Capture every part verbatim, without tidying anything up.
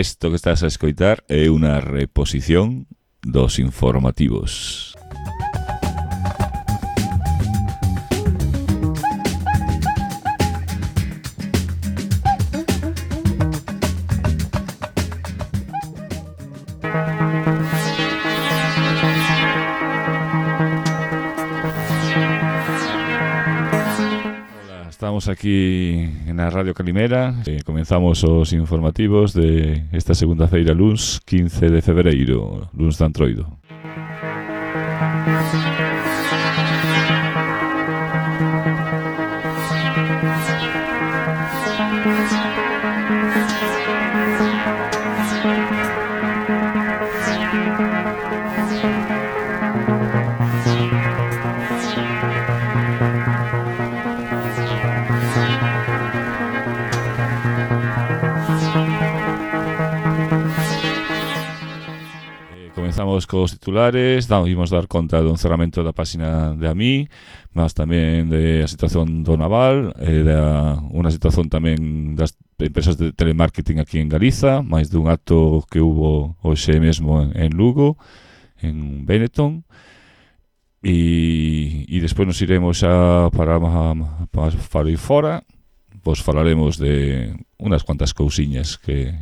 Isto que estás a escoitar é unha reposición dos informativos. Estamos aquí na Radio Calimera, eh, comenzamos os informativos de esta segunda feira luns quince de febreiro, luns de Antroido. Comenzamos cos titulares, da, imos dar conta do encerramento da páxina de A M I, mas tamén de a situación do naval, e da unha situación tamén das empresas de telemarketing aquí en Galiza, máis dun acto que hubo hoxe mesmo en, en Lugo, en Benetton, e, e despois nos iremos xa para, para, para ir fora, pois falaremos de unhas cuantas cousiñas que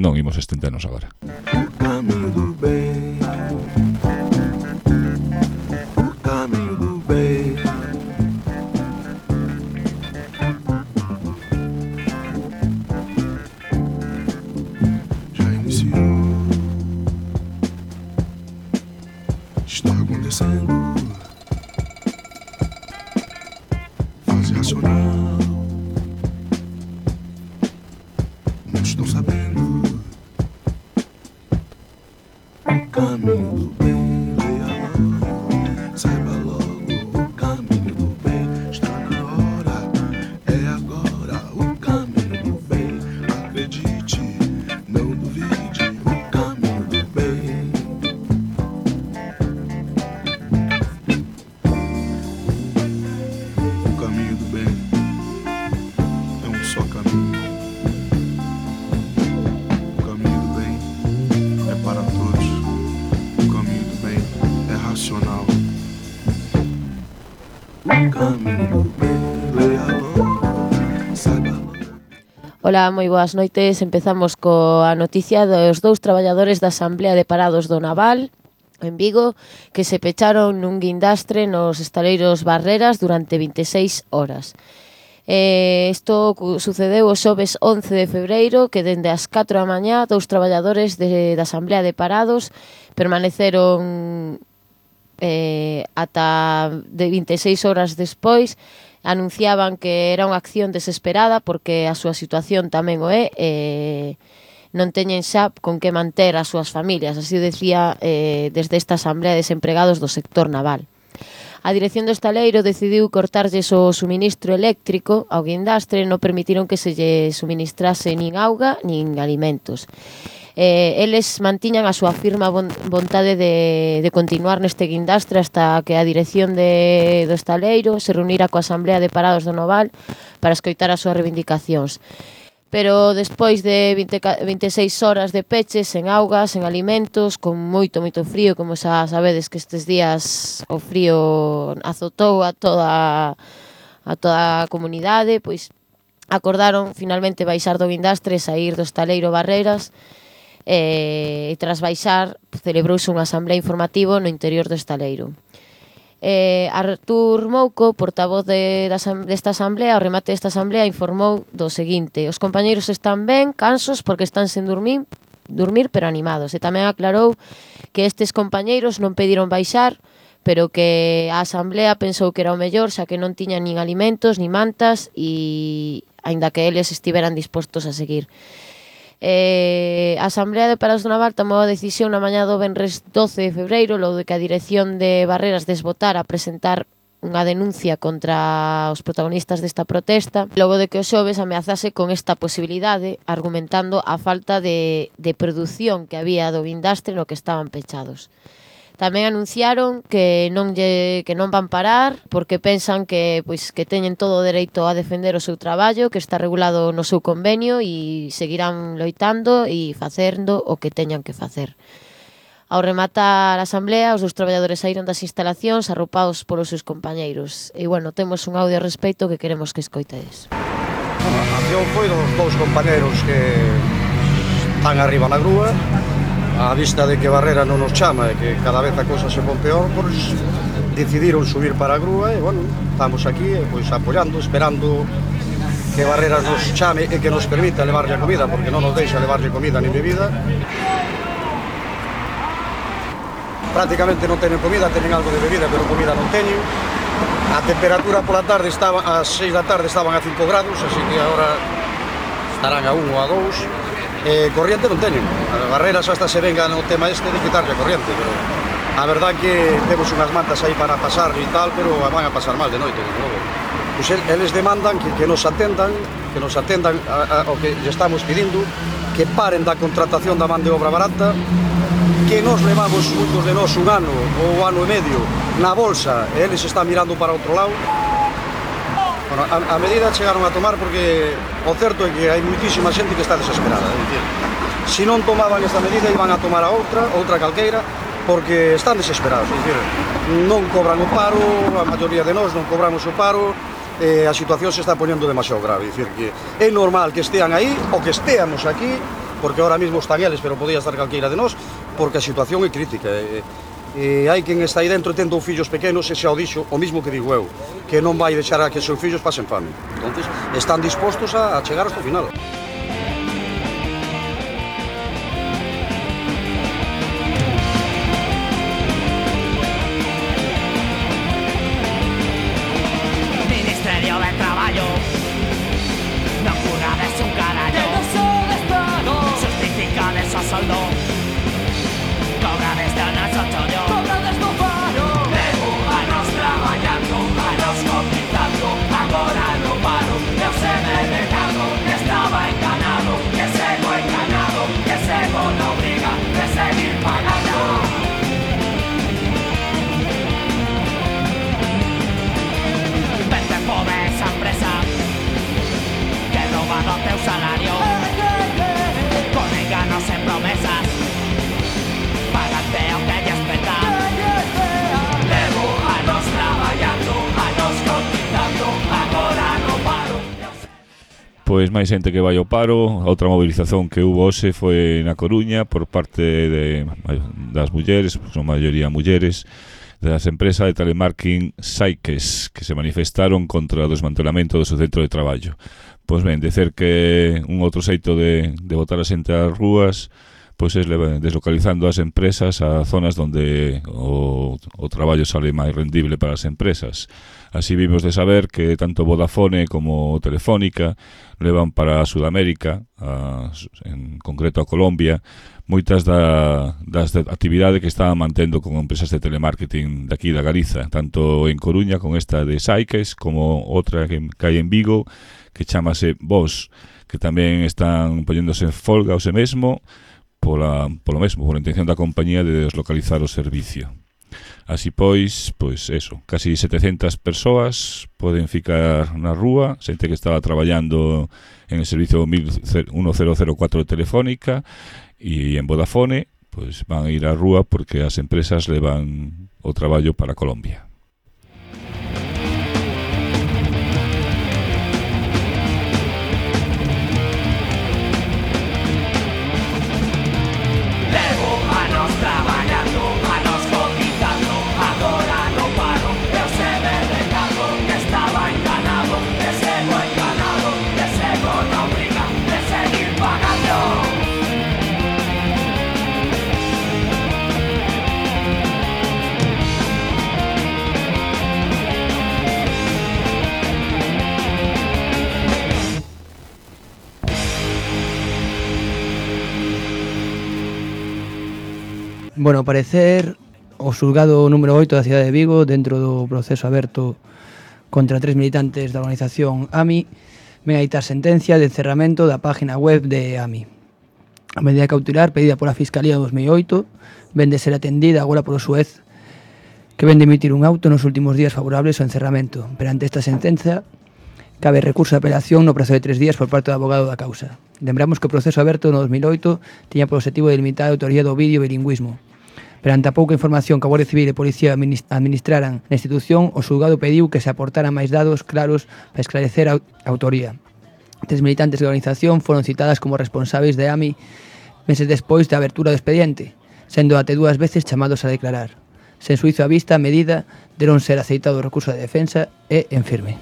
non imos estendernos agora. O caminho do bem, o caminho do bem, já iniciou, está acontecendo, fase racional, não estou sabendo. O caminho do bem, leia logo, saiba logo. O caminho do bem está na hora, é agora. O caminho do bem, acredite, não duvide. O caminho do bem. O caminho do bem é um só caminho. O caminho do bem é para todos. Racional. Ola, moi boas noites. Empezamos coa noticia dos dous traballadores da Asamblea de Parados do Naval en Vigo que se pecharon nun guindastre nos estaleiros Barreras durante vinte e seis horas. Eh, isto sucedeu o xoves once de febreiro, que dende as catro da mañá dous traballadores de, da Asamblea de Parados permaneceron eh, ata de vinte e seis horas despois. Anunciaban que era unha acción desesperada porque a súa situación tamén o é, eh, non teñen xa con que manter as súas familias, así decía eh, desde esta Asamblea de Desempregados do sector naval. A dirección do estaleiro decidiu cortarlles o suministro eléctrico ao guindastre, non permitiron que se lle suministrase nin auga nin alimentos. Eh, eles mantiñan a súa firma vontade de, de continuar neste guindastre hasta que a dirección de, do estaleiro se reunira coa Asamblea de Parados do Naval para escoitar as súas reivindicacións. Pero despois de vinte, vinte e seis horas de peche, sen auga, sen alimentos, con moito, moito frío, como xa sabedes que estes días o frío azotou a toda a toda a comunidade, pois acordaron finalmente baixar do guindastre e sair do estaleiro Barreras. E tras baixar celebrouse unha asamblea informativo no interior do estaleiro. Eh, Artur Mouco, portavoz de, desta asamblea, ao remate desta asamblea, informou do seguinte: os compañeiros están ben, cansos porque están sen dormir, dormir pero animados. E tamén aclarou que estes compañeiros non pediron baixar, pero que a asamblea pensou que era o mellor, xa que non tiñan nin alimentos, nin mantas, e aínda que eles estiveran dispostos a seguir. Eh, a Asamblea de Parados do Naval tomou a decisión na mañá do venres doce de febreiro, logo de que a dirección de Barreras desbotara a presentar unha denuncia contra os protagonistas desta protesta, logo de que o xoves ameazase con esta posibilidade, argumentando a falta de, de produción que había do guindastre no que estaban pechados. Tamén anunciaron que non lle que non van parar porque pensan que pois que teñen todo o dereito a defender o seu traballo, que está regulado no seu convenio e seguirán loitando e facendo o que teñan que facer. Ao rematar a asamblea, os dous traballadores saíron das instalacións arroupados polos seus compañeiros. E, bueno, temos un audio a respecto que queremos que escoitedes. A acción foi dos dous compañeros que están arriba na grúa, a vista de que Barrera non nos chama e que cada vez a cosa se pon peor, pois decidiron subir para a grúa e, bueno, estamos aquí pois apoiando, esperando que Barrera nos chame e que nos permita levarlle a comida, porque non nos deixa levarlle comida nin bebida. Prácticamente non teñen comida, teñen algo de bebida, pero comida non teñen. A temperatura pola tarde estaba, ás seis da tarde estaban a cinco grados, así que agora estarán a un ou a dous. Eh, corriente non teñen. A Barreras hasta se venga no tema este de quitarlle a corriente, pero a verdad que temos unhas mantas aí para pasar e tal, pero van a pasar mal de noite, de novo. Pois eles demandan que, que nos atendan, que nos atendan a, a, o que lle estamos pedindo, que paren da contratación da man de obra barata, que nos levamos moitos de nós un ano ou ano e medio na bolsa e eles están mirando para outro lado. Bueno, a, a medida chegaron a tomar porque o certo é que hai moitísima xente que está desesperada. É dicir, se non tomaban esta medida iban a tomar a outra, outra calqueira, porque están desesperados. É dicir, non cobran o paro, a maioría de nós non cobramos o paro, e a situación se está poñendo demasiado grave. É dicir, que é normal que estean aí, ou que esteamos aquí, porque ahora mesmo están eles, pero podía estar calqueira de nós, porque a situación é crítica. E, e hai quen está aí dentro tendo fillos pequenos e xa o dixo, o mismo que digo eu, que non vai deixar a que os seus fillos pasen fame. Entonces, están dispostos a, a chegar hasta o final. Ministerio de Traballo, non curades un carallo, que non son Estado, justificades o soldo, cobrades de noso chollo, cobrades no paro, levo anos traballando, anos cotizando, agora no paro, eu se me negado, que estaba enganado, que sego enganado, que sego na obriga de seguir pagando. Vete pobre esa empresa que roba do teu salario, con enganos e promesas, pagate o que lle espeta. Levo anos traballando, anos cotizando, agora no paro. Pois máis xente que vai ao paro. A outra movilización que hubo hoxe foi na Coruña por parte de, das mulleres, son maioría mulleres, das empresas de telemarketing Saiques, que se manifestaron contra o desmantelamento do seu centro de traballo. Pois ben, dicer que un outro xeito de, de botar a xente ás rúas pois é deslocalizando as empresas a zonas onde o, o traballo sale máis rendible para as empresas. Así vimos de saber que tanto Vodafone como Telefónica levan para Sudamérica, a, en concreto a Colombia, moitas da, das actividades que estaban mantendo con empresas de telemarketing daqui da Galiza, tanto en Coruña con esta de Saiques como outra que, que hai en Vigo que chamase Vos, que tamén están poñéndose en folga o se mesmo pola, polo mesmo, pola intención da compañía de deslocalizar o servicio. Así pois, pois eso, casi setecentas persoas poden ficar na rúa, xente que estaba traballando en el servicio mil cuatro de Telefónica e en Vodafone, pois van a ir á rúa porque as empresas levan o traballo para Colombia. Bueno, ao parecer, o xulgado número oito da cidade de Vigo, dentro do proceso aberto contra tres militantes da organización A M I, ven a dictar sentencia de cerramento da página web de A M I. A medida cautelar pedida pola Fiscalía en dos mil oito ven de ser atendida agora polo xuez que ven de emitir un auto nos últimos días favorables ao encerramento. Perante esta sentenza, cabe recurso de apelación no prazo de tres días por parte do abogado da causa. Lembramos que o proceso aberto no dos mil oito tiña por objetivo de limitar a autoría do vídeo e bilingüismo. Perante a pouca información que a Guardia Civil e Policía administraran na institución, o xulgado pediu que se aportaran máis dados claros para esclarecer a autoría. Tres militantes da organización foron citadas como responsáveis de A M I meses despois da abertura do expediente, sendo até dúas veces chamados a declarar. Sen suizo a vista, a medida deron ser aceitado o recurso de defensa e en firme.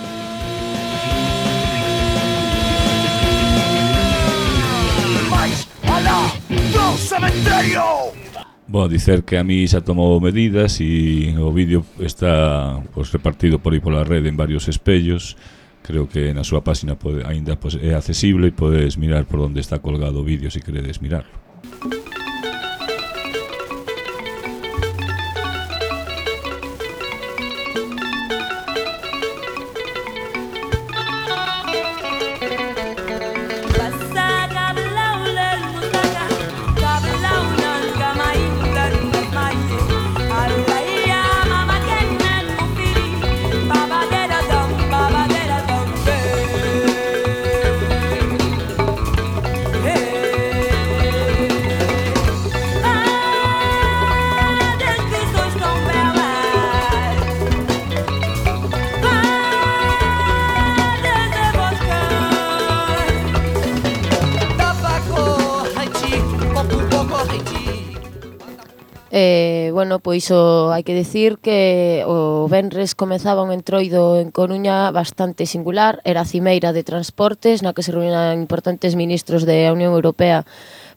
Bueno, dicer que a mí xa tomou medidas e o vídeo está pues, repartido por aí pola rede en varios espellos. Creo que na súa página pode, ainda pues, é accesible e podes mirar por onde está colgado o vídeo se queredes mirarlo. Eh, bueno, pois o, hai que decir que o venres comezaba un entroido en Coruña bastante singular. Era a cimeira de transportes na que se reunían importantes ministros da Unión Europea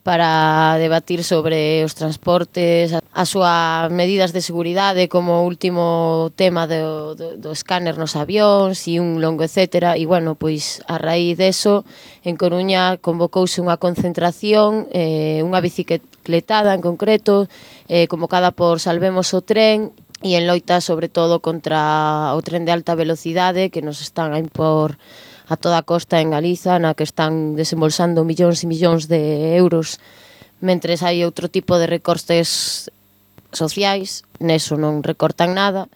para debatir sobre os transportes, as súas medidas de seguridade como último tema do, do, do escáner nos avións e un longo etcétera. E, bueno, pois a raíz deso, en Coruña convocouse unha concentración, eh, unha bicicletada en concreto, eh, convocada por Salvemos o Tren, e en loita sobre todo contra o tren de alta velocidade que nos están a impor a toda a costa en Galiza, na que están desembolsando millóns e millóns de euros, mentres hai outro tipo de recortes sociais, neso non recortan nada.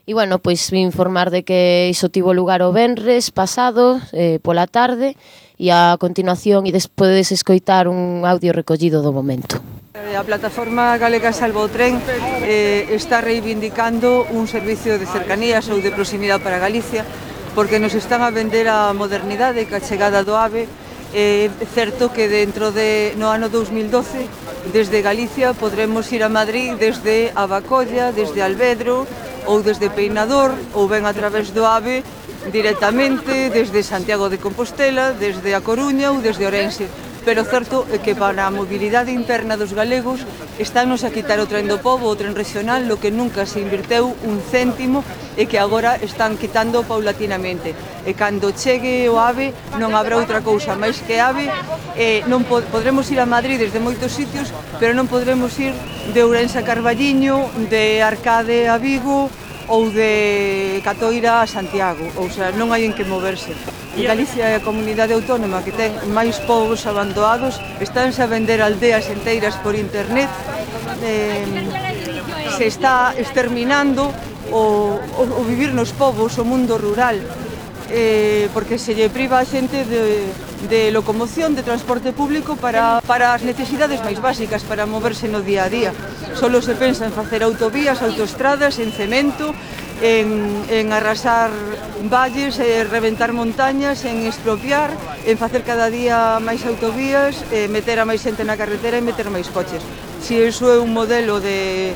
E, bueno, pois vim informar de que iso tivo lugar o venres pasado, eh, pola tarde, e a continuación, e despois de escoitar un audio recollido do momento. A plataforma galega Salva o Tren eh, está reivindicando un servicio de cercanías ou de proximidade para Galicia, porque nos están a vender a modernidade ca chegada do AVE. É certo que dentro de no ano dous mil doce, desde Galicia podremos ir a Madrid desde Abacolla, desde Alvedro ou desde Peinador, ou ben a través do AVE directamente desde Santiago de Compostela, desde A Coruña ou desde Ourense. Pero certo é que para a mobilidade interna dos galegos estános a quitar o tren do pobo, o tren regional, lo que nunca se invirteu un céntimo e que agora están quitando paulatinamente. E cando chegue o AVE non habrá outra cousa máis que AVE. E non pod podremos ir a Madrid desde moitos sitios, pero non podremos ir de Ourense a Carballiño, de Arcade a Vigo ou de Catoira a Santiago. Ou sea, non hai en que moverse. E Galicia é a comunidade autónoma que ten máis povos abandonados, estánse a vender aldeas enteiras por internet, eh, se está exterminando o, o, o vivir nos povos, o mundo rural, eh, porque se lle priva a xente de, de locomoción, de transporte público para, para as necesidades máis básicas, para moverse no día a día. Solo se pensa en facer autovías, autoestradas, en cemento, en, en arrasar valles, en reventar montañas, en expropiar, en facer cada día máis autovías, en meter a máis xente na carretera e meter máis coches. Si iso é un modelo de,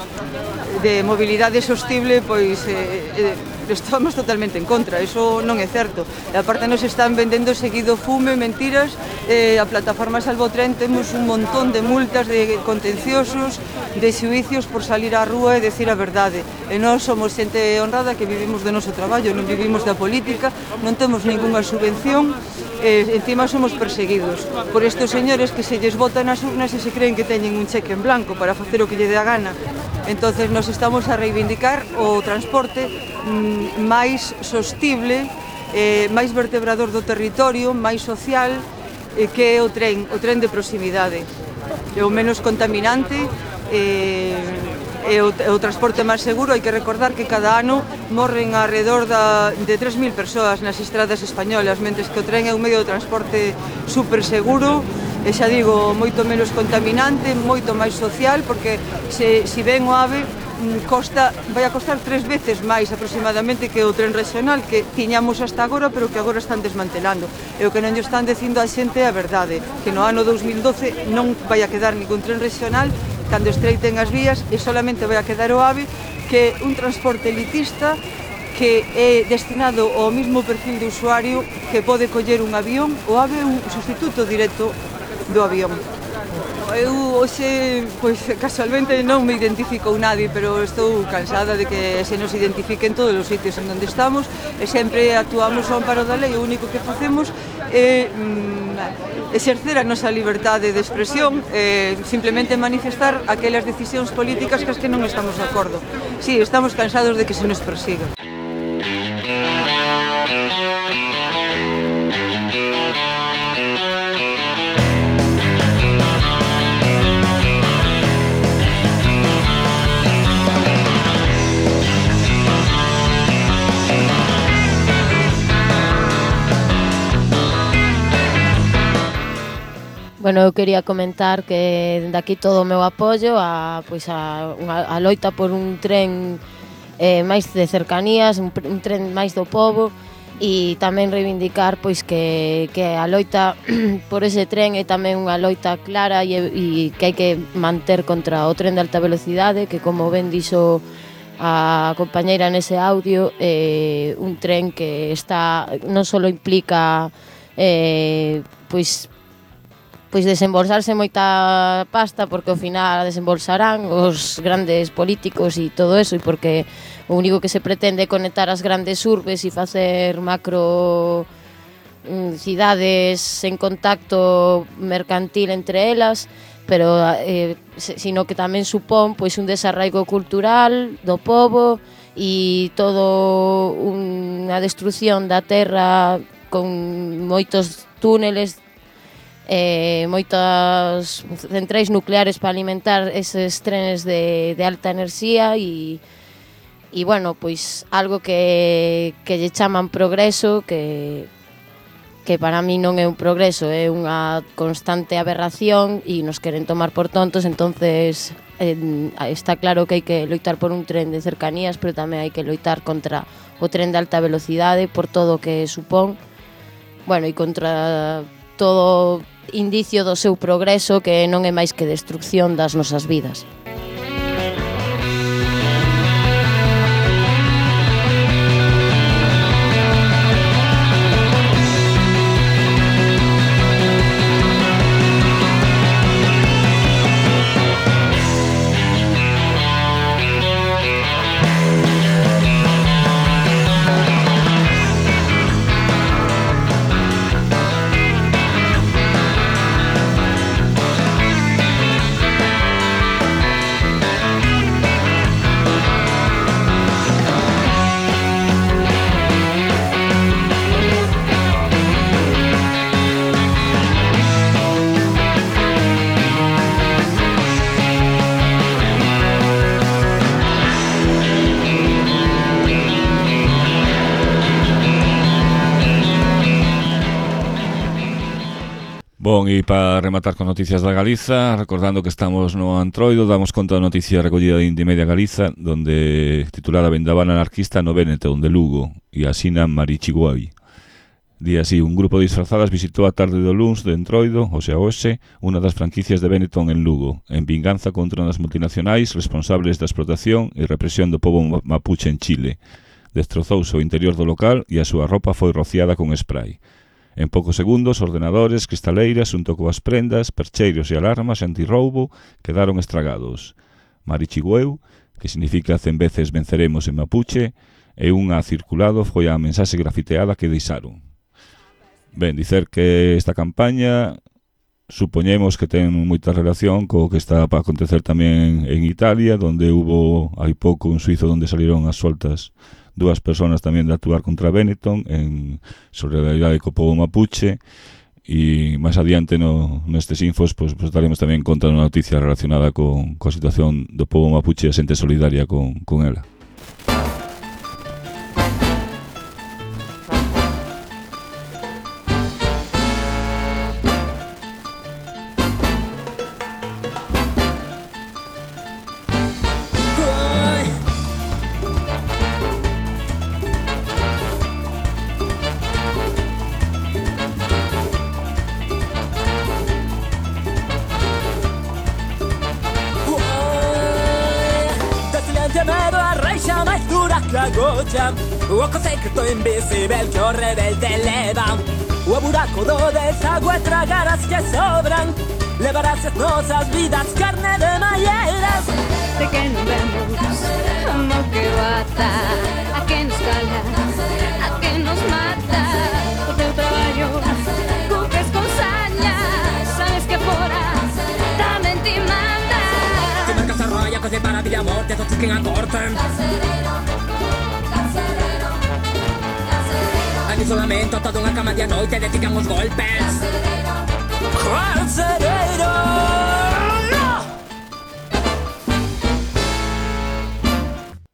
de mobilidade sostible, pois eh, eh, estamos totalmente en contra, iso non é certo. E aparte nos están vendendo seguido fume, mentiras. Eh, a plataforma Salva o Tren temos un montón de multas, de contenciosos, de xuicios por salir á rúa e decir a verdade. E nós somos xente honrada que vivimos do noso traballo, non vivimos da política, non temos ningunha subvención, e encima somos perseguidos por estes señores que se lles botan as urnas e se creen que teñen un cheque en blanco para facer o que lle dé a gana. Entonces nos estamos a reivindicar o transporte mm, máis sostible, eh, máis vertebrador do territorio, máis social, eh, que é o tren, o tren de proximidade. é o menos contaminante, e, e o, o transporte máis seguro. Hai que recordar que cada ano morren alrededor da, de tres mil persoas nas estradas españolas, mentres que o tren é un medio de transporte super seguro, e xa digo, moito menos contaminante, moito máis social, porque se, se ven o AVE, costa, vai a costar tres veces máis aproximadamente que o tren regional que tiñamos hasta agora, pero que agora están desmantelando. E o que non lle están dicindo a xente é a verdade, que no ano dous mil doce non vai a quedar ningún tren regional cando estreiten as vías, e solamente vai a quedar o AVE, que é un transporte elitista que é destinado ao mismo perfil de usuario que pode coller un avión. O AVE é un sustituto directo do avión. Eu hoxe, pois, casualmente non me identifico nadie, pero estou cansada de que se nos identifiquen todos os sitios en onde estamos, e sempre actuamos ao amparo da lei. O único que facemos é mm, exercer a nosa liberdade de expresión, e simplemente manifestar aquelas decisións políticas cas que non estamos de acordo. Sí, estamos cansados de que se nos persiga. Bueno, eu quería comentar que dende aquí todo o meu apoio a, pois a, a, a loita por un tren eh, máis de cercanías, un, un tren máis do pobo, e tamén reivindicar pois que, que a loita por ese tren é tamén unha loita clara e, e que hai que manter contra o tren de alta velocidade, que como ben dixo a compañeira nese audio, eh, un tren que está non só implica eh, pois pois desembolsarse moita pasta, porque ao final desembolsarán os grandes políticos e todo eso, e porque o único que se pretende é conectar as grandes urbes e facer macro mm, cidades en contacto mercantil entre elas, pero eh, sino que tamén supón pois un desarraigo cultural do pobo e todo unha destrucción da terra con moitos túneles, eh, moitas centrais nucleares para alimentar eses trenes de, de alta enerxía, e, e bueno, pois algo que, que lle chaman progreso, que, que para mí non é un progreso, é unha constante aberración e nos queren tomar por tontos. Entonces eh, está claro que hai que loitar por un tren de cercanías, pero tamén hai que loitar contra o tren de alta velocidade por todo o que supón, bueno, e contra todo indicio do seu progreso, que non é máis que destrucción das nosas vidas. Bon, e para rematar con noticias da Galiza, recordando que estamos no Antroido, damos conta da noticia recollida de Indy Media Galiza, donde titulada Vendaval anarquista no Benetton de Lugo, e asina Marichiguai. Día así, un grupo de disfrazadas visitou a tarde do luns de Entroido, o sea, hoxe, unha das franquicias de Benetton en Lugo, en vinganza contra unhas multinacionais responsables da explotación e represión do pobo mapuche en Chile. Destrozouse o interior do local e a súa roupa foi rociada con spray. En poucos segundos, ordenadores, cristaleiras, xunto coas prendas, percheiros e alarmas antirroubo quedaron estragados. Marichigueu, que significa cen veces venceremos en mapuche, e unha circulado foi a mensaxe grafiteada que deixaron. Ben, dicer que esta campaña supoñemos que ten moita relación co que está para acontecer tamén en Italia, donde hubo hai pouco un suizo donde salieron as soltas dúas persoas tamén de actuar contra Benetton en solidaridade co pobo mapuche, e máis adiante no, nestes infos pues, pues daremos tamén conta unha noticia relacionada con, con a situación do povo mapuche e a xente solidaria con, con ela. O oco secreto invisible que o rebelde leva. O buraco do desagüe tragaras que sobran. Levarás as nosas vidas carne de malleiras. De que non vemos como que bata, a que nos cala, a que nos mata. O teu traballo cumpres con saña, sabes que fora tamén te manda. Te marcas a roya, coce para vida morte, todos que acortan. En isolamento, toda unha cama de a noite, dedican os golpes. Carcereiro!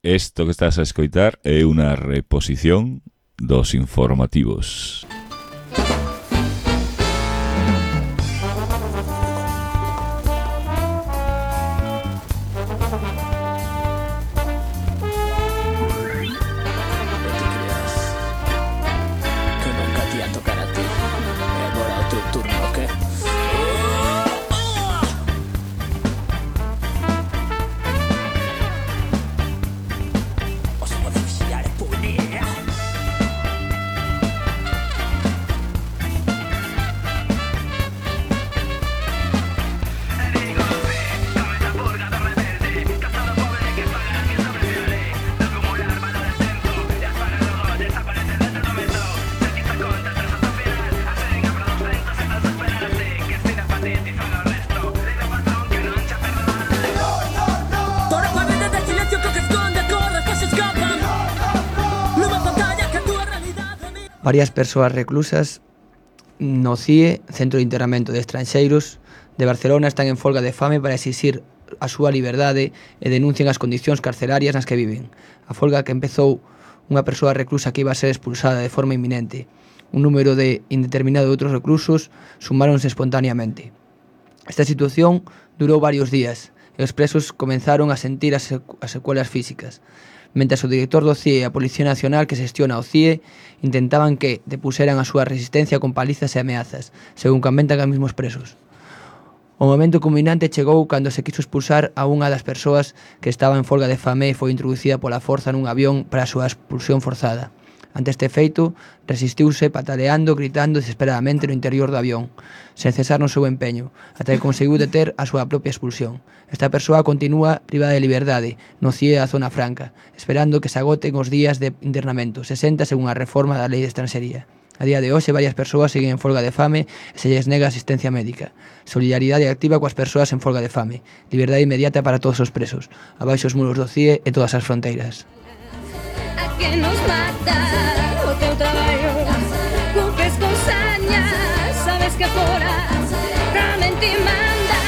Esto que estás a escoitar é unha reposición dos informativos. Varias persoas reclusas no C I E, Centro de Internamento de Estranxeiros de Barcelona, están en folga de fame para exixir a súa liberdade e denuncian as condicións carcerarias nas que viven. A folga que empezou unha persoa reclusa que iba a ser expulsada de forma inminente. Un número de indeterminado de outros reclusos sumáronse espontaneamente. Esta situación durou varios días e os presos comenzaron a sentir as secuelas físicas. Mentres o director do C I E e a Policía Nacional que xestiona o C I E intentaban que depuseran a súa resistencia con palizas e ameazas, según comentan os mesmos presos. O momento culminante chegou cando se quiso expulsar a unha das persoas que estaba en folga de fame e foi introducida pola forza nun avión para a súa expulsión forzada. Ante este feito, resistiuse pataleando, gritando desesperadamente no interior do avión, sen cesar no seu empeño, ata que conseguiu deter a súa propia expulsión. Esta persoa continúa privada de liberdade no C I E da Zona Franca, esperando que se agoten os días de internamento, sesenta según a reforma da Lei de Estranxería. A día de hoxe, varias persoas seguen en folga de fame e se lles nega asistencia médica. Solidaridade activa coas persoas en folga de fame. Liberdade inmediata para todos os presos. Abaixo os muros do C I E e todas as fronteiras. A que nos mata o teu traballo, cumpres con saña, sabes que fora tamén te manda.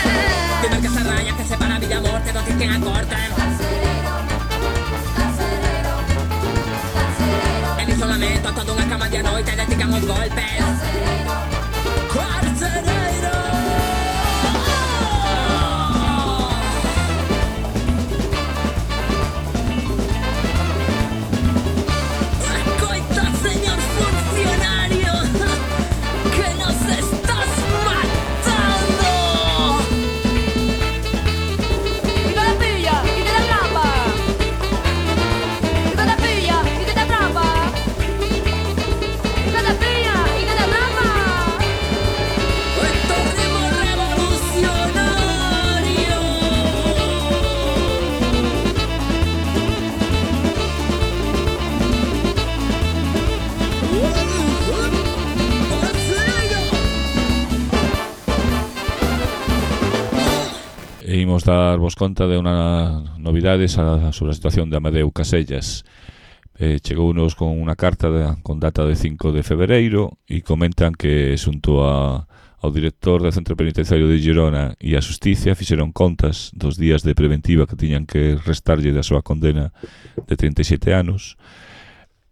Te marcas a raya que separa vida e morte, dos que acortan. En isolamento, toda unha cama de a noite, dedican os golpes. Carcereiro! Escoita, señor funcionario, que nos estás matando. Y te la pilla, y te la atrapa. Y te la pilla, y te la atrapa. Y te la pilla, y te la atrapa. Esto es revolucionario. E imos dar vos conta de unha novidades a, sobre a situación de Amadeu Casellas. eh, chegounos con unha carta de, con data de cinco de febreiro e comentan que xunto a, ao director do Centro Penitenciario de Girona e a Xusticia fixeron contas dos días de preventiva que tiñan que restarlle da súa condena de trinta e sete anos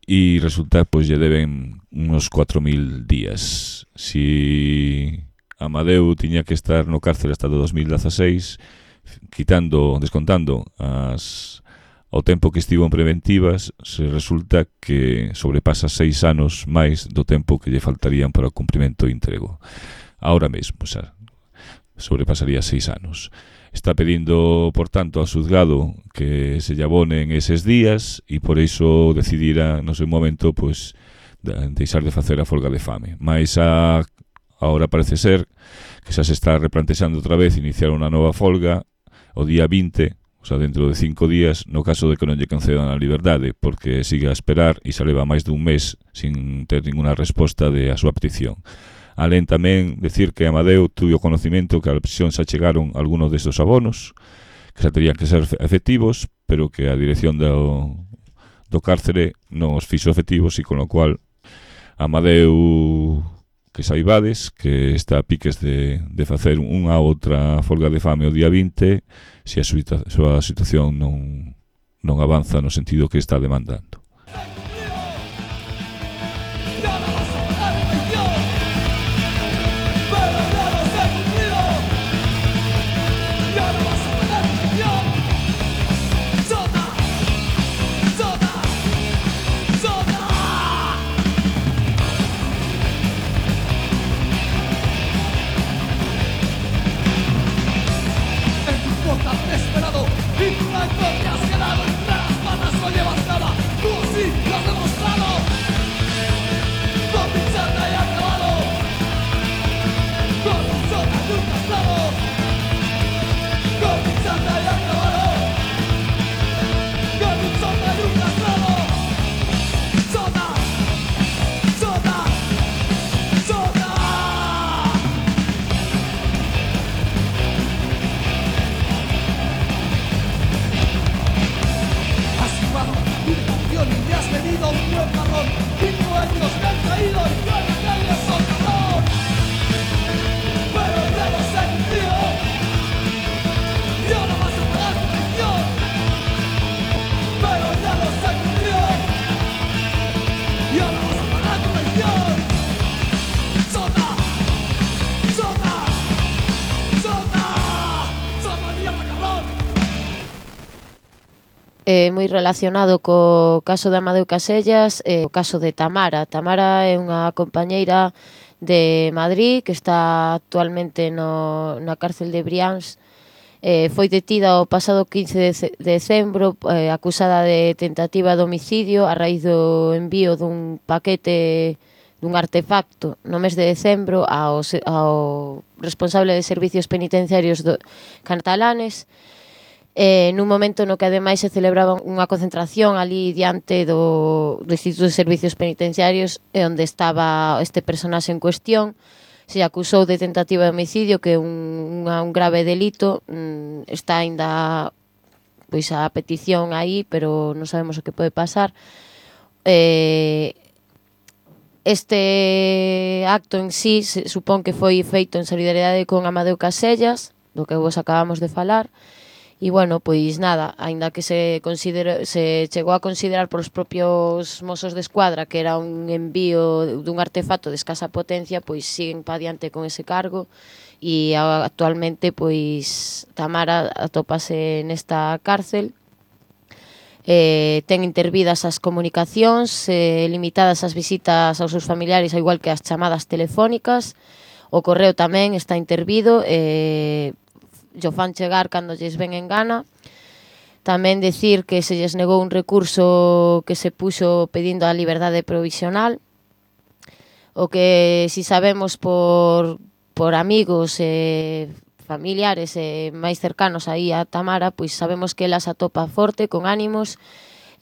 e resulta pois lle deben unos cuatro mil días. Si Amadeu tiña que estar no cárcel hasta o dos mil dezaseis, quitando, descontando as ao tempo que estivo en preventivas, se resulta que sobrepasa seis anos máis do tempo que lle faltarían para o cumprimento íntegro. Ahora mesmo, xa, sobrepasaría seis anos. Está pedindo, por tanto, ao xuzgado que se lle abonen eses días e por iso decidira, no seu momento, pois, deixar de facer a folga de fame. Mais a, ahora parece ser que xa se está replantexando outra vez iniciar unha nova folga o día vinte, o sea, dentro de cinco días, no caso de que non lle concedan a liberdade, porque sigue a esperar e xa leva máis dun mes sin ter ninguna resposta de a súa petición. Alén tamén decir que Amadeu tuvo conocimento que a prisión xa chegaron algunos destes abonos, que xa terían que ser efectivos, pero que a dirección do, do cárcere non os fixo efectivos e con lo cual Amadeu, que saibades que está a piques de, de facer unha outra folga de fame o día vinte se a súa, súa situación non, non avanza no sentido que está demandando. Eh, moi relacionado co caso de Amadeu Casellas, eh, o caso de Tamara. Tamara é unha compañeira de Madrid que está actualmente no, na cárcel de Brians. Eh, foi detida o pasado quince de decembro eh, acusada de tentativa de homicidio a raíz do envío dun paquete dun artefacto no mes de decembro ao, ao responsable de servicios penitenciarios do, catalanes. Eh, nun momento no que ademais se celebraba unha concentración ali diante do, do Instituto de Servicios Penitenciarios e onde estaba este personaxe en cuestión. Se acusou de tentativa de homicidio, que é un, un grave delito. Mm, está aínda pois a petición aí, pero non sabemos o que pode pasar. Eh, este acto en sí se supón que foi feito en solidariedade con Amadeu Casellas, do que vos acabamos de falar. E, bueno, pois nada, aínda que se considera, se chegou a considerar por os propios Mossos de Escuadra que era un envío dun artefacto de escasa potencia, pois siguen pa diante con ese cargo e actualmente, pois, Tamara atópase nesta cárcel. Eh, ten intervidas as comunicacións, eh, limitadas as visitas aos seus familiares, ao igual que as chamadas telefónicas. O correo tamén está intervido, e eh, yo fan chegar cando lles ven en gana. Tamén decir que se lles negou un recurso que se puxo pedindo a liberdade provisional. O que si sabemos por, por amigos e familiares e máis cercanos aí a Tamara, pois sabemos que ela se atopa forte, con ánimos,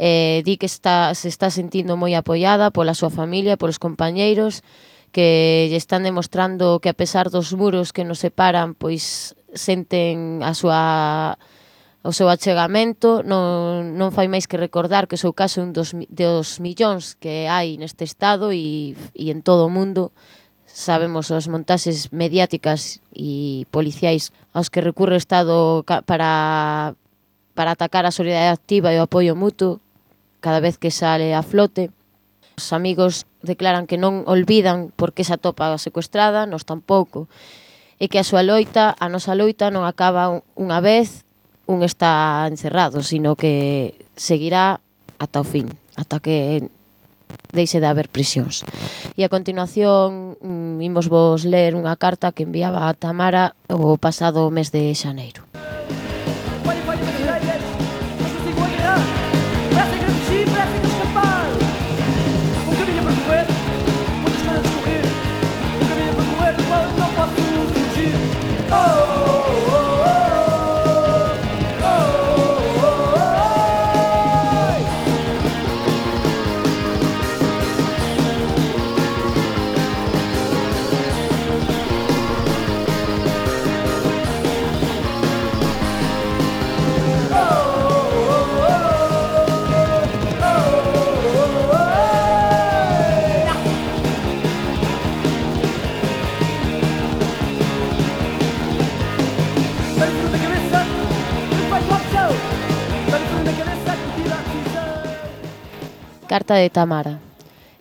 eh, di que está, se está sentindo moi apoiada pola súa familia, polos compañeiros, que lle están demostrando que a pesar dos muros que nos separan, pois senten a súa O seu achegamento non, non fai máis que recordar que o seu caso é un dos, dos millóns que hai neste estado e, e en todo o mundo. Sabemos as montaxes mediáticas e policiais aos que recurre o Estado para, para atacar a solidariedade activa e o apoio mutuo cada vez que sale a flote. Os amigos declaran que non olvidan por que se atopa secuestrada, nos tampouco, e que a súa loita, a nosa loita non acaba unha vez un está encerrado, sino que seguirá ata o fin, ata que deixe de haber prisións. E a continuación mm, imos vos ler unha carta que enviaba a Tamara o pasado mes de xaneiro. Carta de Tamara.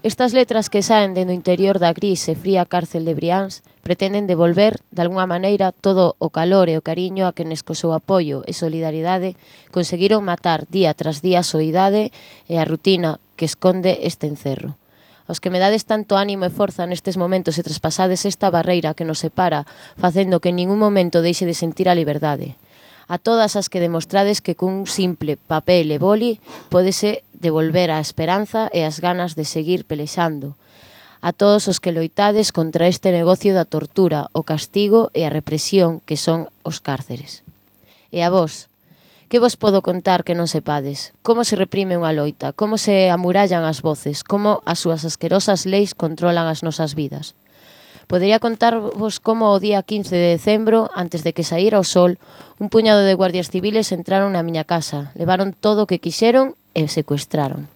Estas letras que saen dentro interior da gris e fría cárcel de Brians pretenden devolver, de alguna maneira, todo o calor e o cariño a quenes co seu apoio e solidaridade conseguiron matar día tras día a soidade e a rutina que esconde este encerro. Aos que me dades tanto ánimo e forza nestes momentos e traspasades esta barreira que nos separa, facendo que en ningún momento deixe de sentir a liberdade. A todas as que demostrades que cun simple papel e boli pódese devolver a esperanza e as ganas de seguir pelexando. A todos os que loitades contra este negocio da tortura, o castigo e a represión que son os cárceres. E a vos, que vos podo contar que non sepades? Como se reprime unha loita? Como se amurallan as voces? Como as súas asquerosas leis controlan as nosas vidas? Podería contarvos como o día quince de decembro, antes de que saíra o sol, un puñado de guardias civiles entraron na miña casa, levaron todo o que quixeron e secuestraron.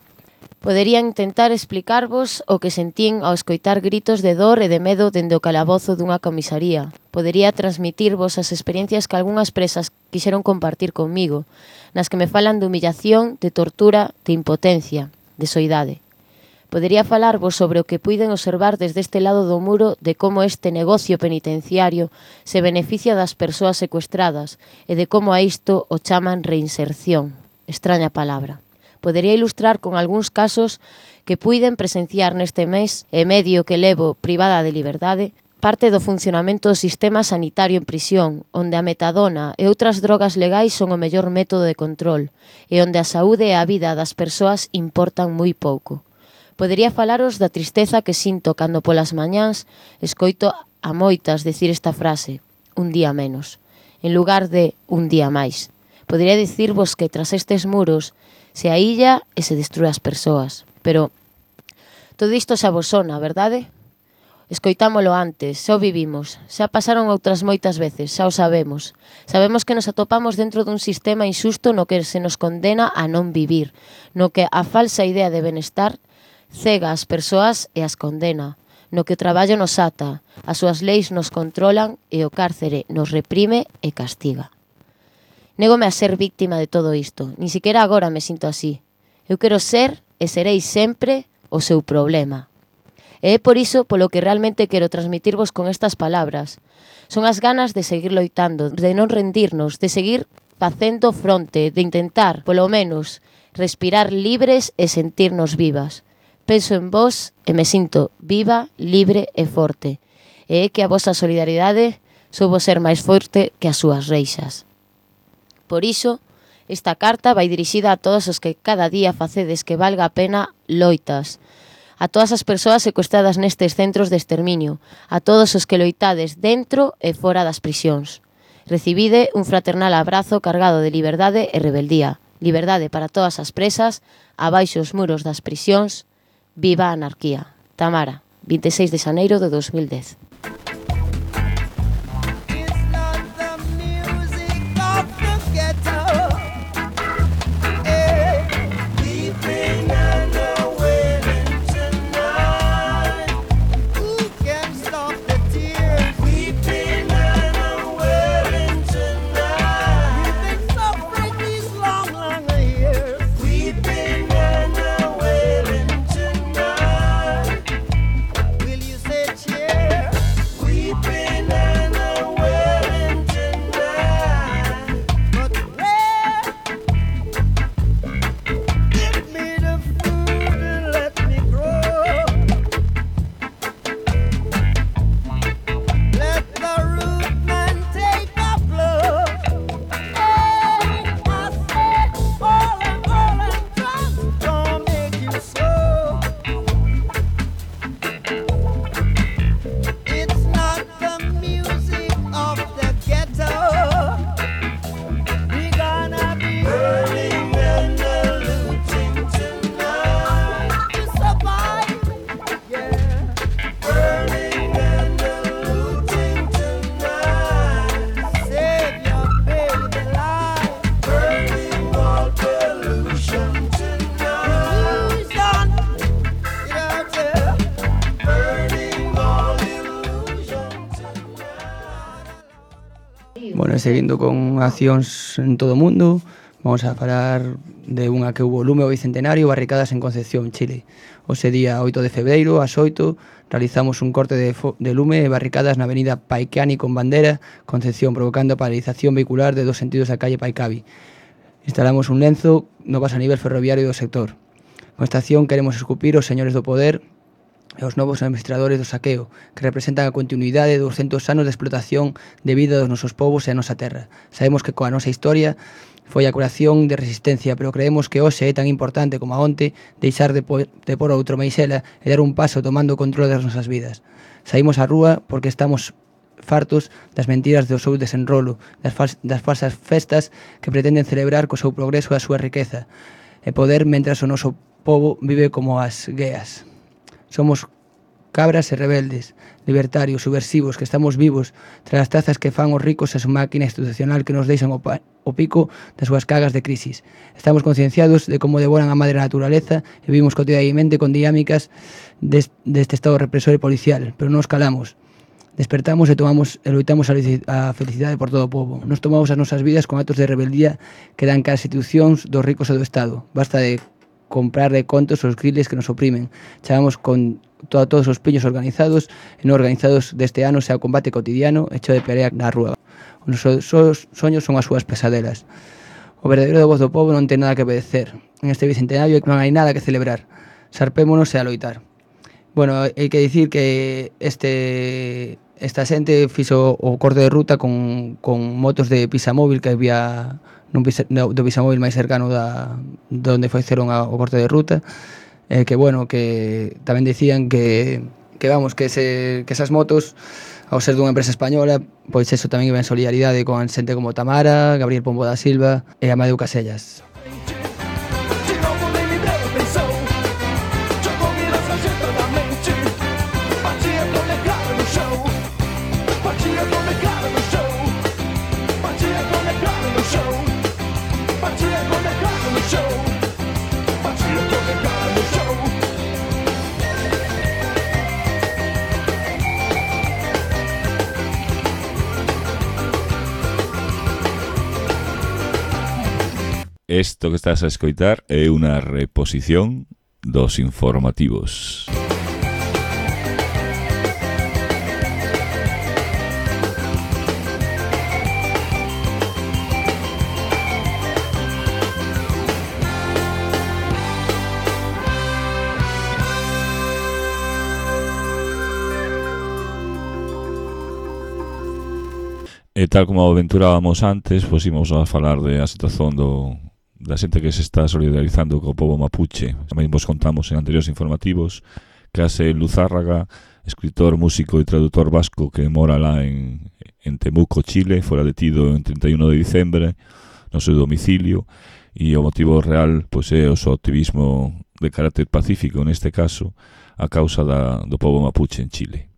Podería intentar explicarvos o que sentín ao escoitar gritos de dor e de medo dende o calabozo dunha comisaría. Podería transmitirvos as experiencias que algunhas presas quixeron compartir comigo, nas que me falan de humillación, de tortura, de impotencia, de soidade. Podería falarvos sobre o que puiden observar desde este lado do muro de como este negocio penitenciario se beneficia das persoas secuestradas e de como a isto o chaman reinserción. Extraña palabra. Podería ilustrar con algúns casos que puiden presenciar neste mes e medio que levo privada de liberdade parte do funcionamento do sistema sanitario en prisión, onde a metadona e outras drogas legais son o mellor método de control e onde a saúde e a vida das persoas importan moi pouco. Podería falaros da tristeza que sinto cando polas mañáns escoito a moitas decir esta frase, un día menos, en lugar de un día máis. Podería dicirvos que tras estes muros se ailla e se destrúe as persoas, pero todo isto xa vos sona, verdade? Escoitámolo antes, xa o vivimos, xa pasaron outras moitas veces, xa o sabemos. Sabemos que nos atopamos dentro dun sistema injusto no que se nos condena a non vivir, no que a falsa idea de benestar cega as persoas e as condena, no que o traballo nos ata, as súas leis nos controlan e o cárcere nos reprime e castiga. Négome a ser víctima de todo isto, ni siquiera agora me sinto así. Eu quero ser e serei sempre o seu problema. E é por iso polo que realmente quero transmitirvos con estas palabras. Son as ganas de seguir loitando, de non rendirnos, de seguir facendo fronte, de intentar, polo menos, respirar libres e sentirnos vivas. Penso en vós e me sinto viva, libre e forte. E é que a vosa solidaridade soubo ser máis forte que as súas reixas. Por iso, esta carta vai dirixida a todos os que cada día facedes que valga a pena loitas. A todas as persoas secuestradas nestes centros de exterminio. A todos os que loitades dentro e fora das prisións. Recibide un fraternal abrazo cargado de liberdade e rebeldía. Liberdade para todas as presas, abaixo os muros das prisións. Viva a anarquía. Tamara, vinte e seis de xaneiro de dos mil dez. It's not the music of the ghetto. seguindo con accións en todo o mundo, vamos a falar de unha que hubo lume ao bicentenario, barricadas en Concepción, Chile. Ose día oito de febreiro, ás oito, realizamos un corte de, de lume e barricadas na avenida Paicani con bandera, Concepción, provocando a paralización vehicular de dos sentidos da calle Paicavi. Instalamos un lenzo no paso a nivel ferroviario do sector. Con esta acción queremos escupir os señores do poder e os novos administradores do saqueo, que representan a continuidade de douscentos anos de explotación de vida dos nosos povos e a nosa terra. Sabemos que coa nosa historia foi a curación de resistencia, pero creemos que hoxe é tan importante como a onte deixar de, po de por outro meixela e dar un paso tomando o control das nosas vidas. Saímos á rúa porque estamos fartos das mentiras do seu desenrolo, das, fal das falsas festas que pretenden celebrar co seu progreso e a súa riqueza e poder mentras o noso povo vive como as gueas. Somos cabras e rebeldes, libertarios, subversivos, que estamos vivos tras as trazas que fan os ricos e a súa máquina institucional que nos deixan o, o pico das súas cagas de crisis. Estamos concienciados de como devoran a madre naturaleza e vivimos cotidianamente con dinámicas deste, deste estado represor e policial, pero non nos calamos. Despertamos e tomamos e loitamos a felicidade por todo o povo. Nos tomamos as nosas vidas con actos de rebeldía que dan cara as institucións dos ricos e do Estado. Basta de comprar de contos os griles que nos oprimen. Chamamos con to a todos os piños organizados e non organizados deste ano sea o combate cotidiano hecho de pelea na rúa. Os nosos soños son as súas pesadelas. O verdadeiro voz do povo non ten nada que obedecer. En este bicentenario non hai nada que celebrar. Sarpémonos e a loitar. Bueno, hai que dicir que este esta xente fixo o corte de ruta con, con motos de pisamóvil que había nun pisa, no, do pisamóvil máis cercano da donde fixeron a, o corte de ruta, eh, que bueno, que tamén dicían que que vamos, que ese que esas motos ao ser dunha empresa española, pois eso tamén iba en solidaridade con xente como Tamara, Gabriel Pombo da Silva e Amadeu Casellas. Isto que estás a escoitar é unha reposición dos informativos. E tal como aventurábamos antes, pois ímos a falar de a situación do da xente que se está solidarizando co povo mapuche. Tamén vos contamos en anteriores informativos que Axel Luzárraga, escritor, músico e traductor vasco que mora lá en, en Temuco, Chile, fora detido en trinta e un de diciembre no seu domicilio, e o motivo real pois é o seu activismo de carácter pacífico, neste caso, a causa da, do povo mapuche en Chile.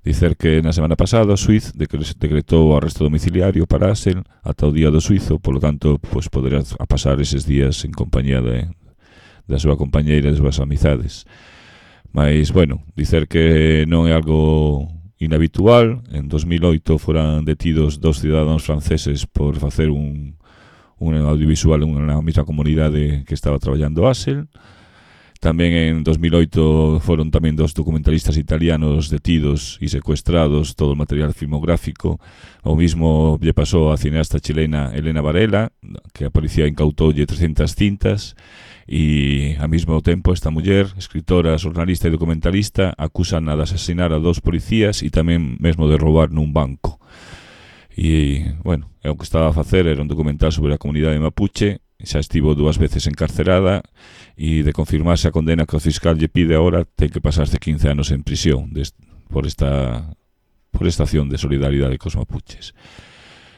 Dicer que na semana pasada o xuiz decretou o arresto domiciliario para Axel ata o día do xuizo, polo tanto, pois poderá pasar eses días en compañía de, da súa compañeira e das súas amizades. Mas, bueno, dicer que non é algo inhabitual. En dos mil oito foran detidos dos cidadáns franceses por facer un, un audiovisual na mesma comunidade que estaba traballando Axel. Tamén en dos mil oito foron tamén dos documentalistas italianos detidos e secuestrados todo o material filmográfico. O mismo lle pasou a cineasta chilena Elena Varela, que a policía incautoulle trescentas cintas, e ao mesmo tempo esta muller, escritora, xornalista e documentalista, acusan de asasinar a dos policías e tamén mesmo de roubar nun banco. E, bueno, o que estaba a facer era un documental sobre a comunidade mapuche. Xa estivo dúas veces encarcerada e de confirmarse a condena que o fiscal lle pide agora ten que pasarse quince anos en prisión des, por esta por esta acción de solidaridade cos mapuches.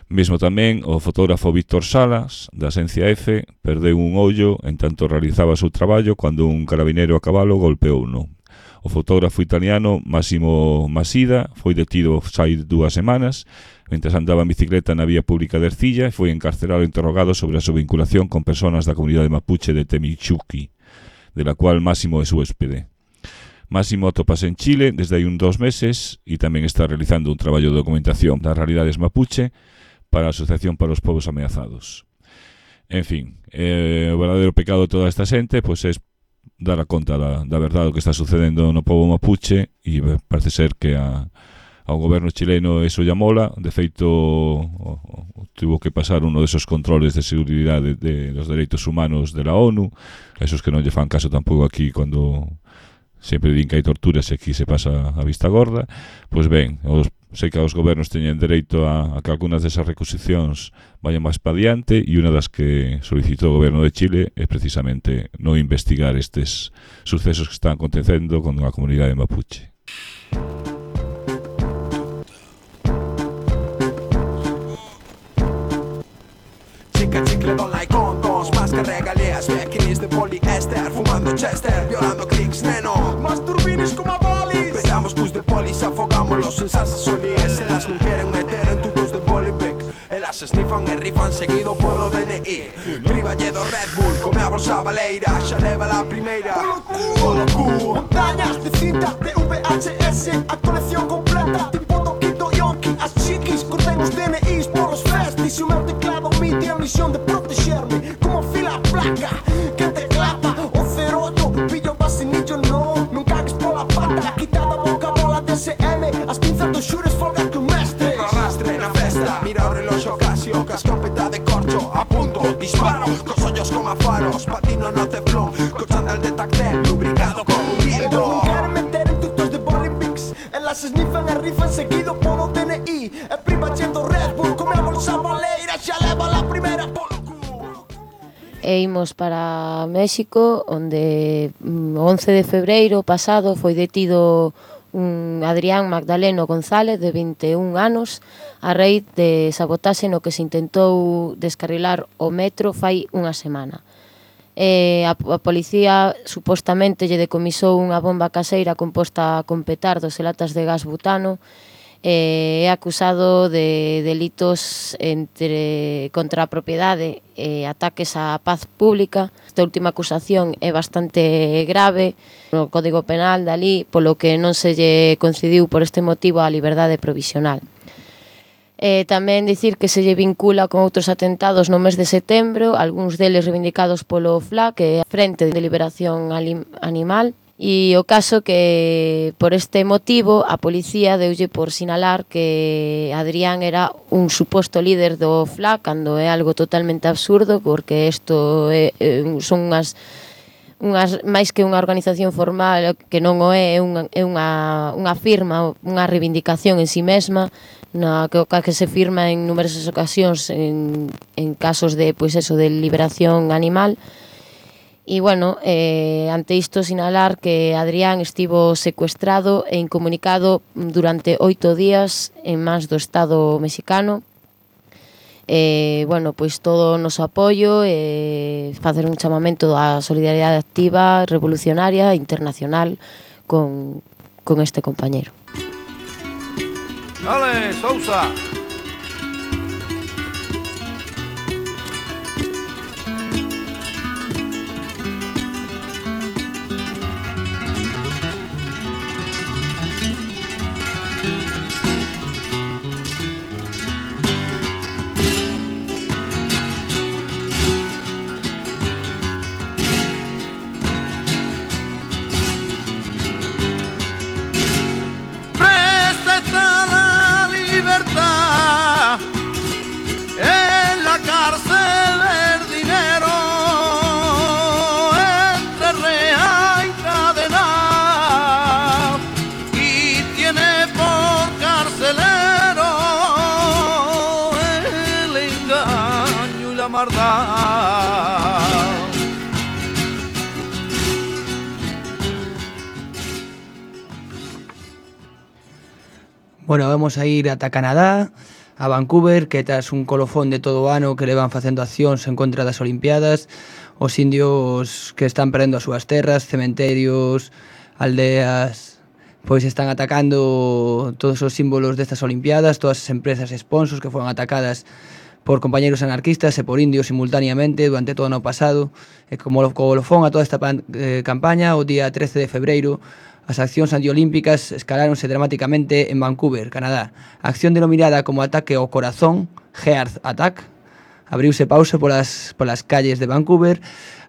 Mesmo tamén o fotógrafo Víctor Salas da Asencia F perdeu un ollo en tanto realizaba o seu traballo cando un carabinero a cabalo golpeouno. O fotógrafo italiano Massimo Masida foi detido hai dúas semanas mentre andaba en bicicleta na vía pública de Ercilla e foi encarcerado e interrogado sobre a súa vinculación con persoas da comunidade mapuche de Temichuqui, de la cual Máximo é su hóspede. Máximo atopase en Chile desde hai un dos meses e tamén está realizando un traballo de documentación das realidades mapuche para a Asociación para os Povos Ameazados. En fin, eh, o verdadeiro pecado de toda esta xente pois é dar a conta da, da verdade do que está sucedendo no povo mapuche, e parece ser que a, ao goberno chileno eso lla mola. De feito, o, o, tuvo que pasar uno desos controles de seguridade de, de los dereitos humanos de la ONU, esos que non lle fan caso tampouco aquí cando sempre din que hai torturas e aquí se pasa a vista gorda. Pois ben, os, sei que os gobernos teñen dereito a, a que algunhas desas recusicións vayan máis pa diante, e unha das que solicitou o goberno de Chile é precisamente non investigar estes sucesos que están acontecendo con a comunidade mapuche. Chica, chicle, dólar y condos, más que regalías, bikinis de poliéster, fumando chester, violando clics, neno, más turbines como a bolis. Pegamos bus de polis, afogámoslos en salsas solíes, elas non queren meter en tubos de bolipic, elas snifan e rifan seguido polo D N I. Triballe do Red Bull, come a bolsa baleira, xa leva la primeira. Polo cu, montañas de cinta de V H S, a colección completa, tipo Toquito Yonki, as chiquis, corten os D N Is por os festis, e o meu teclado mi tiene a misión de protegerme, como fila placa, que te clapa, o cero ocho, pillo vacinillo, no, non cagues pola pata, quitada boca bola de S M, as pinzas dos xures folga que o mestre. No arrastre na festa, mira o reloxo Casio, ca escopeta de corcho, a punto, disparo, cos ollos como a faros, patino no teflón, co chandal de tactel, lubricado con un dildo. Non queren meter en tutos de Bolimpix, elas snifan e rifan seguido polo D N I, e priva chendo Red Bull, come a bolsa baleira, xa leva la primeira polo cu. E imos para México, onde o once de febreiro pasado foi detido un Adrián Magdaleno González de vinte e un anos a raíz de sabotaxe no que se intentou descarrilar o metro fai unha semana. E a, a policía supostamente lle decomisou unha bomba caseira composta con petardos e latas de gas butano, e é acusado de delitos entre contra a propiedade e ataques á paz pública. Esta última acusación é bastante grave no Código Penal dali, polo que non se lle concediu por este motivo a liberdade provisional. E tamén dicir que se lle vincula con outros atentados no mes de setembro, algúns deles reivindicados polo F L A, que é a Frente de Liberación Animal. E o caso que, por este motivo, a policía deulle por sinalar que Adrián era un suposto líder do F L A, cando é algo totalmente absurdo, porque isto é, son unhas, unhas máis que unha organización formal, que non o é, é unha, é unha, unha firma, unha reivindicación en si mesma, na que, que se firma en numerosas ocasións en, en casos de, pois eso, de liberación animal. E, bueno, eh, ante isto sinalar que Adrián estivo secuestrado e incomunicado durante oito días en mans do Estado mexicano. Eh, bueno, pois todo o noso apoio e eh, facer un chamamento á solidariedade activa, revolucionaria, internacional con, con este compañero. Dale, Sousa! Bueno, vamos a ir ata Canadá, a Vancouver, que tras un colofón de todo o ano que levan facendo accións en contra das Olimpiadas, os indios que están perdendo as súas terras, cementerios, aldeas, pois están atacando todos os símbolos destas Olimpiadas, todas as empresas e sponsors que foron atacadas por compañeros anarquistas e por indios simultaneamente durante todo o ano pasado. E como colofón a toda esta pan, eh, campaña, o día trece de febreiro, as accións antiolímpicas escaláronse dramáticamente en Vancouver, Canadá. A acción denominada como ataque ao corazón, Heart Attack. Abriuse pauso polas, polas calles de Vancouver,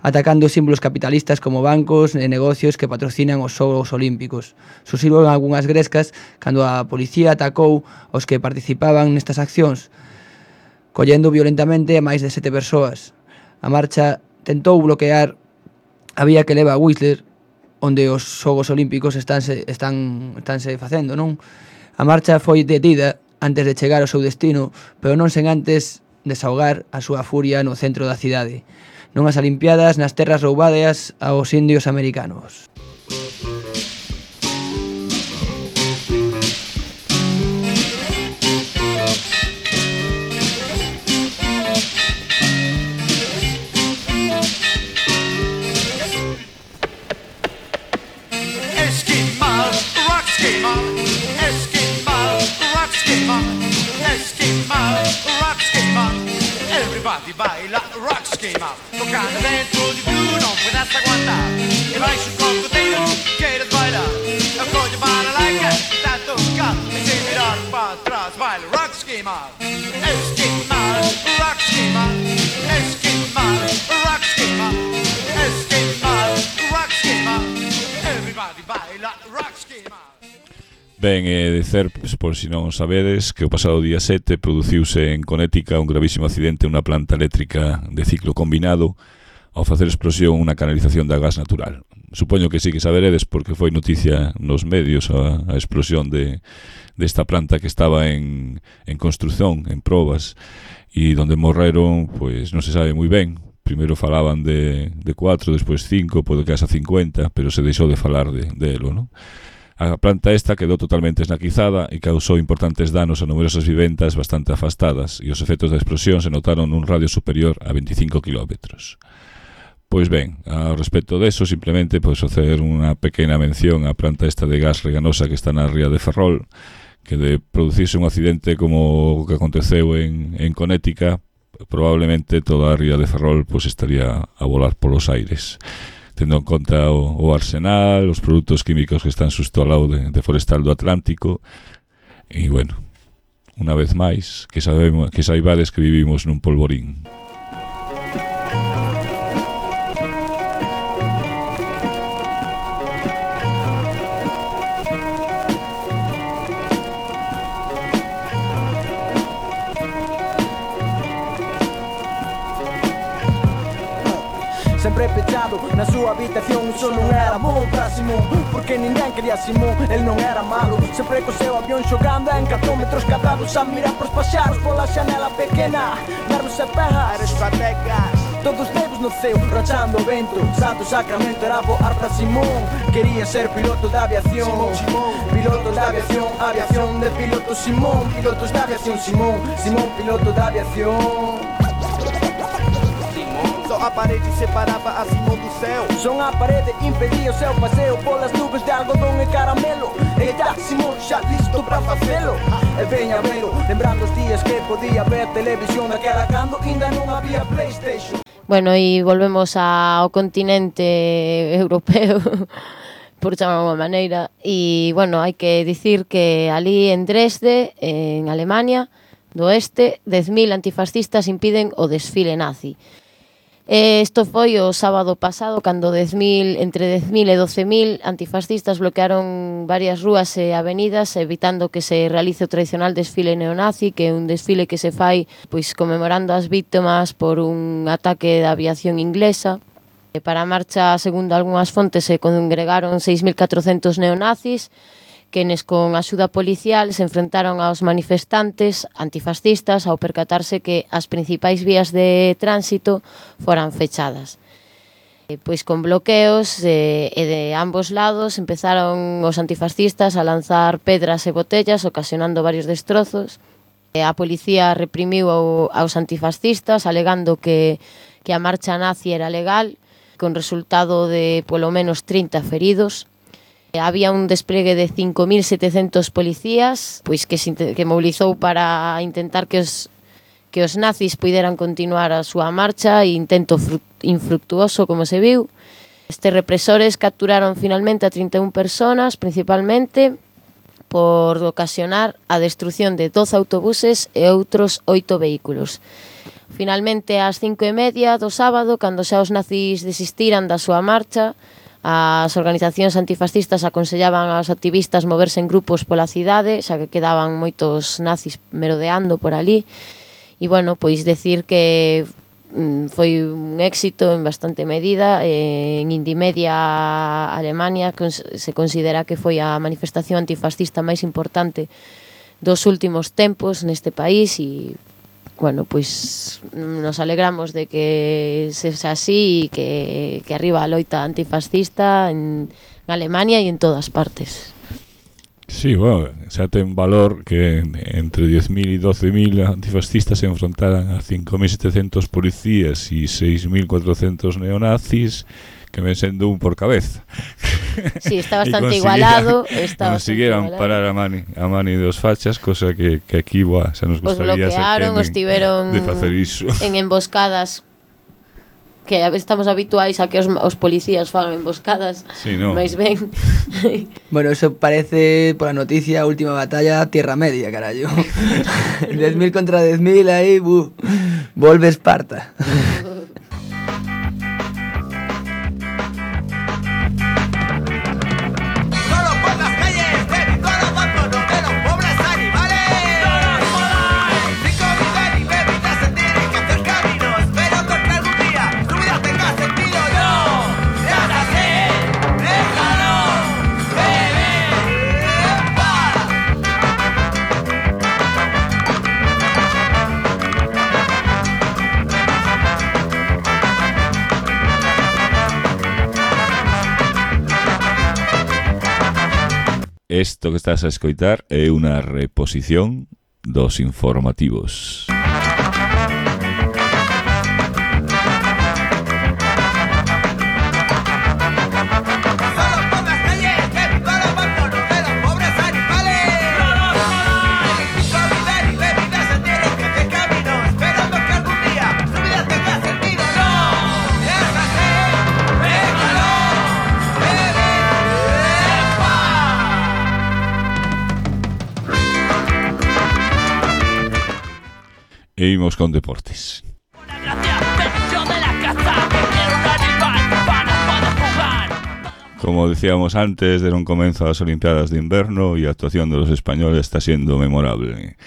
atacando símbolos capitalistas como bancos e negocios que patrocinan os Xogos Olímpicos. Sucediron algunhas grescas cando a policía atacou aos que participaban nestas accións, collendo violentamente a máis de sete persoas. A marcha tentou bloquear a vía que leva a Whistler, onde os Xogos Olímpicos estánse, están, estánse facendo, non? A marcha foi detida antes de chegar ao seu destino, pero non sen antes desahogar a súa furia no centro da cidade, nunhas Olimpiadas nas terras roubadas aos indios americanos. Esquimal, rock esquimal, esquimal, rock esquimal, esquimal, rock esquimal. Everybody baila rock esquimal. Tocando dentro de tu, não puedes aguantar. E vai sul cocodrilo, queres bailar. Eu cojo para like está tocando. E sem virar para trás, baila rock esquimal. Esquimal, rock esquimal, esquimal, rock esquimal, esquimal, rock esquimal. Everybody baila rock esquimal. Ben, é dicer, por si non o sabedes, que o pasado día sete produciuse en Connecticut un gravísimo accidente nunha planta eléctrica de ciclo combinado ao facer explosión unha canalización de gas natural. Supoño que sí que saberedes porque foi noticia nos medios a, a explosión de desta planta que estaba en, en construción, en probas, e donde morreron, pois non se sabe moi ben. Primeiro falaban de, de cuatro, despois cinco, pode que hasta cincuenta, pero se deixou de falar de, de elo, non? A planta esta quedou totalmente esnaquizada e causou importantes danos a numerosas vivendas bastante afastadas e os efectos da explosión se notaron nun radio superior a veinticinco kilómetros. Pois ben, ao respecto deso, simplemente pois facer unha pequena mención á planta esta de gas reganosa que está na ría de Ferrol, que de producirse un accidente como o que aconteceu en, en Connecticut, probablemente toda a ría de Ferrol pois estaría a volar polos aires, tendo en conta o, o arsenal, os produtos químicos que están xusto ao lado de, de Forestal do Atlántico. E, bueno, unha vez máis, que sabemos que saibades que vivimos nun polvorín. Sempre pechado na súa habitación, só non era bon para Simón, porque ninguén quería Simón, el non era malo. Sempre co seu avión xogando en catro metros cadrados, a mirar pros paxaros pola xanela pequena, verlos e perras, estrategas, todos dedos no ceo, rachando o vento. Santo Sacramento era voar para Simón, quería ser piloto de aviación, Simón, piloto de aviación, aviación de piloto Simón, pilotos de aviación Simón, Simón, piloto de aviación. Só a parede separava a Simón do céu. Son a parede impedia o seu paseo polas nubes de algodón e caramelo. Eita, Simón xa listo para facelo. E veña velo, lembrando os días que podía ver televisión daquela cando ainda non había PlayStation. Bueno, e volvemos ao continente europeo, por chamar unha maneira. E, bueno, hai que dicir que ali en Dresde, en Alemania do Oeste, dez mil antifascistas impiden o desfile nazi. Isto foi o sábado pasado, cando dez mil, entre dez mil e doce mil antifascistas bloquearon varias rúas e avenidas, evitando que se realice o tradicional desfile neonazi, que é un desfile que se fai pois conmemorando as víctimas por un ataque da aviación inglesa. Para a marcha, segundo algunhas fontes, se congregaron seis mil catrocentos neonazis, quenes con axuda policial se enfrentaron aos manifestantes antifascistas ao percatarse que as principais vías de tránsito foran fechadas. Pois con bloqueos e de ambos lados empezaron os antifascistas a lanzar pedras e botellas, ocasionando varios destrozos. A policía reprimiu aos antifascistas, alegando que, que a marcha nazi era legal, con resultado de polo menos trinta feridos. Había un despliegue de cinco mil setecentos policías, pois que se que mobilizou para intentar que os que os nazis puideran continuar a súa marcha, e intento infructuoso, como se viu. Estes represores capturaron finalmente a trinta e unha personas, principalmente, por ocasionar a destrucción de doce autobuses e outros oito vehículos. Finalmente, ás cinco e media do sábado, cando xa os nazis desistiran da súa marcha, as organizacións antifascistas aconsellaban aos activistas moverse en grupos pola cidade, xa que quedaban moitos nazis merodeando por ali. E, bueno, pois decir que foi un éxito en bastante medida. En Indimedia, Alemania, se considera que foi a manifestación antifascista máis importante dos últimos tempos neste país e, bueno, pois nos alegramos de que sexa así e que, que arriba a loita antifascista en Alemania e en todas partes. Sí, bueno, xa ten valor que entre diez mil e doce mil antifascistas se enfrontaran a cinco mil setecientos policías e seis mil cuatrocentos neonazis, que ven sendo un por cabeza. Sí, está bastante igualado. Está consiguieron parar a mani, a mani dos fachas, cosa que, que aquí, buah, xa nos gustaría os bloquearon, os tiveron de facer iso. En emboscadas que estamos habituais a que os, os policías fagan emboscadas. Sí, no. Mais ben. Bueno, eso parece, por la noticia, última batalla Tierra Media, carallo. diez mil contra diez mil aí, buh, volve Esparta. Isto que estás a escoitar é unha reposición dos informativos. E imos con deportes. Como decíamos antes, deron comezo as Olimpiadas de Inverno e a actuación dos españoles está sendo memorable.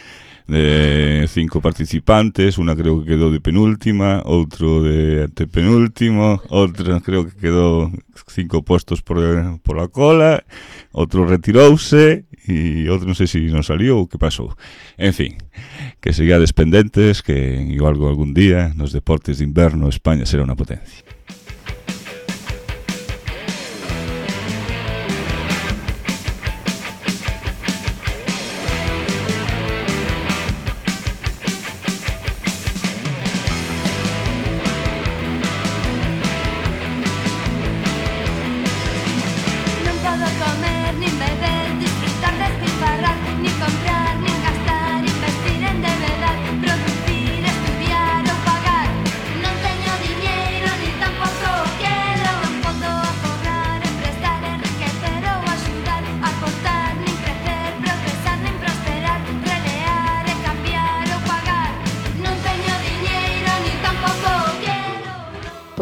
De cinco participantes, unha creo que quedou de penúltima, outro de antepenúltimo, outra creo que quedou cinco postos por, por la cola, outro retirouse e outro non sei se non salió ou que pasou. En fin, que sigades pendentes, que igual algún día nos deportes de inverno España será unha potencia.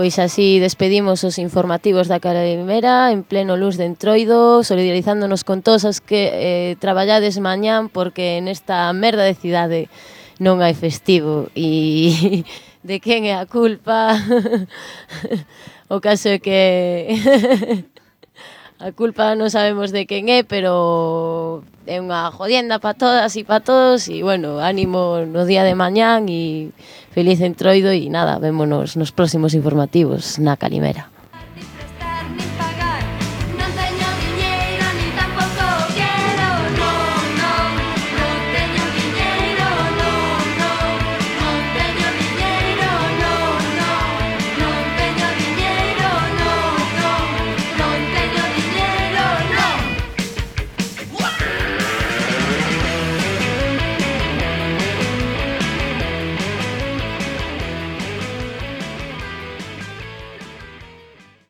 Pois así despedimos os informativos da Calimera en pleno luz de Entroido, solidarizándonos con todos os que eh, traballades mañán, porque nesta merda de cidade non hai festivo e de quen é a culpa. O caso é que a culpa non sabemos de quen é, pero é unha jodienda para todas e para todos e, bueno, ánimo no día de mañán e feliz Entroido e nada, vémonos nos próximos informativos na Calimera.